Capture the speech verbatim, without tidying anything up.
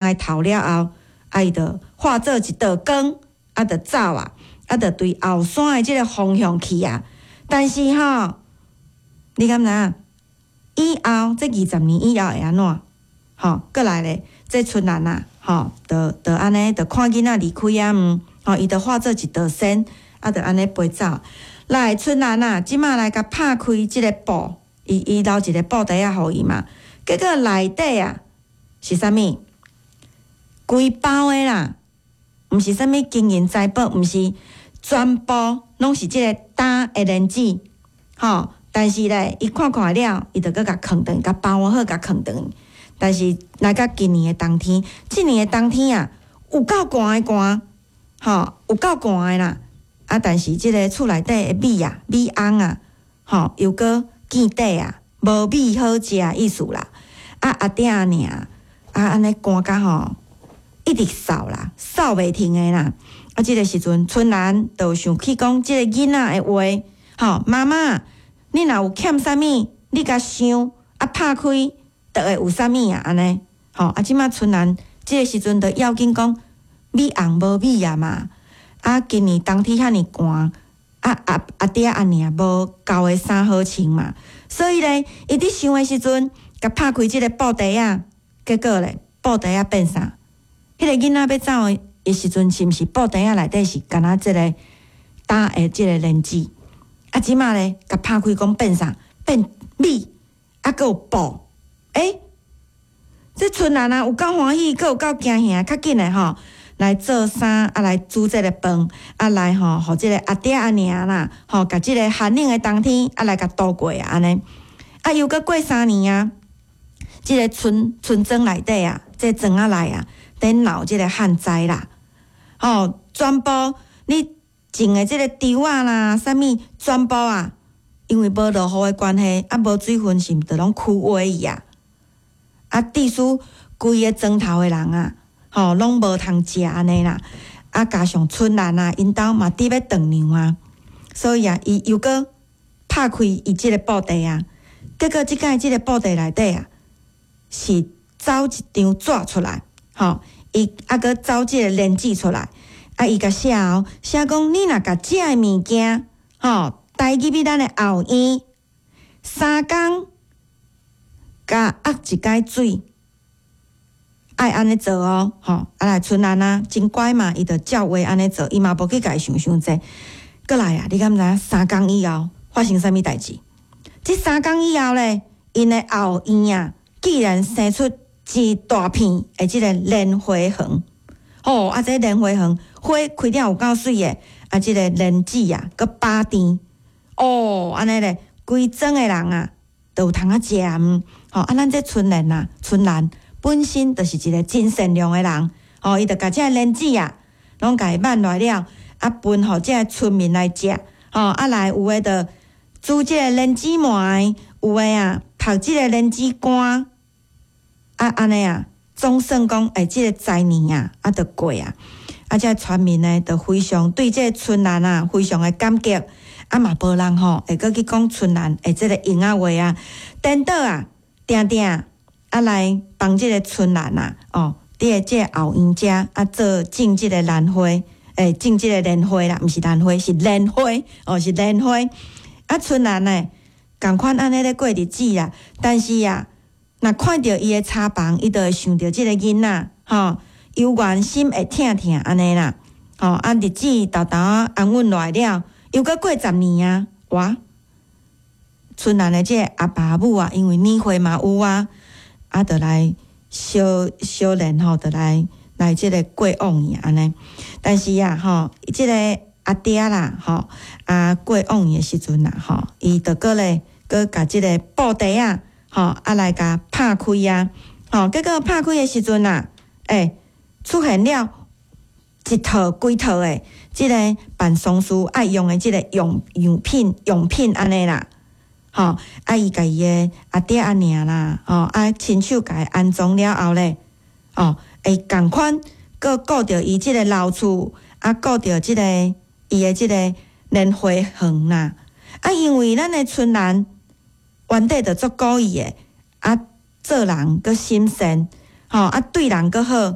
的頭了後，啊，伊就化做一道光，啊，就走啊，啊，就對後山的這个方向去啊。但是吼，你敢知影？以後這二十年以後會按怎？吼，閣來咧，這春蘭啊，吼，就就按呢，就看囡仔離開啊，毋，吼，伊就化做一道仙，啊，就按呢飛走。來，春蘭啊，這馬來共拍開這个布，伊伊留一个布袋仔予伊嘛。結果內底啊是啥物？規包的啦，毋是啥物金銀財寶，毋是全部攏是這个焦的蓮子，吼。但是咧，伊看看了，伊就閣共囥轉，共包好，共囥轉。但是來到今年的冬天，這年的冬天啊，有夠寒的寒，吼，有夠寒的啦。啊，但是這个厝內底的米啊，米甕啊，吼，又閣見底啊，無米好食的意思啦。啊，阿爹阿娘啊，按呢寒甲吼，一直嗽啦，嗽袂停的啦。啊，這个時陣，春蘭就想起講這个囡仔的話，吼，媽媽，你若有欠啥物，你共想啊，拍開就會有啥物啊，按呢，吼，啊，這馬春蘭這个時陣就要緊講米甕無米啊嘛。啊，今年冬天遐爾寒，啊阿阿爹阿娘無夠的衫好穿嘛，所以咧，伊佇想的時陣，共拍開這个布袋仔，結果咧，布袋仔變啥？彼个囡仔欲走的時陣，是毋是布袋仔內底是干焦這个焦的這个蓮子？啊，這馬咧，共拍開講變啥？變米，啊，閣有布。欸，這春蘭啊，有夠歡喜，閣有夠驚嚇，較緊的吼。來做衫，啊來煮這个飯，啊來吼，予這个阿爹阿娘啦，吼，共這个寒冷的冬天，啊來共度過啊，按呢。啊，又閣過三年啊，這个村村莊內底啊，這個莊仔內啊，佇鬧這个旱災啦，吼，全部你種的這个稻仔啦，啥物全部啊，因為無落雨的關係，啊無水分是毋就攏枯萎去啊。啊，致使規個莊頭的人啊，吼，攏無通食按呢啦。啊，加上春蘭啊，𪜶兜嘛佇欲斷糧啊，所以啊，伊又閣拍開伊這个布袋啊，結果這擺這个布袋內底啊，是走一張紙出來，吼，伊啊閣走這个蓮子出來，啊，伊共寫哦，寫講你若共這个物件，吼，帶入去咱的後院，三工共壓一擺水。愛按呢做哦，吼！啊來春蘭啊，真乖嘛，伊就照話按呢做，伊嘛無去共伊想傷濟。閣來啊，你敢知影三工以後發生啥物代誌？這三工以後咧，𪜶的後院啊，竟然生出一大片的這个蓮花園。吼！啊，這蓮花園花開了有夠媠的，啊，這个蓮子啊，閣飽甜。哦，按呢咧，規莊的人啊，都有通啊食。吼！啊，咱這春蘭啊，春蘭。本身就是一个真善良的人，吼，伊就共這个蓮子啊，攏共伊挽來了，啊，分予這个村民來食，吼，啊來有的就煮這个蓮子糜，有的啊曝這个蓮子乾，啊按呢啊，總算講，欸，這个災年啊，啊就過啊，啊這个村民呢，就非常對這个春蘭啊，非常的感激，啊嘛無人吼會閣去講春蘭的這个閒仔話啊，顛倒啊，定定。啊，來幫這个春蘭啊，哦，佇个這个後院遮啊，做種這个蘭花，欸，種這个蓮花啦，毋是蘭花，是蓮花，哦，是蓮花。啊，春蘭呢，仝款按呢咧過日子啊，但是啊，若看著伊的柴房，伊就會想著這个囡仔，吼，猶原心會疼疼按呢啦，吼，啊，日子沓沓仔安穩落來了，又閣過十年啊，哇，春蘭的這个阿爸阿母啊，因為年歲嘛有啊。啊，就來相相連吼，就來來這个過往去按呢。但是啊，吼，這个阿爹啦，吼，啊過往去的時陣啊，吼，伊就閣咧，閣共這个布袋仔，吼，啊來共拍開啊，吼，結果拍開的時陣啊，欸，出現了一套規套的這个辦喪事愛用的這个用用品用品按呢啦。吼，啊，伊共伊的阿爹阿娘啦，吼，啊，親手共伊安葬了後咧，哦，會仝款，閣顧著伊這个老厝，啊，顧著這个伊的這个蓮花園啦。啊，因為咱的春蘭原底就足古意的，啊，做人閣心善，吼啊對人閣好。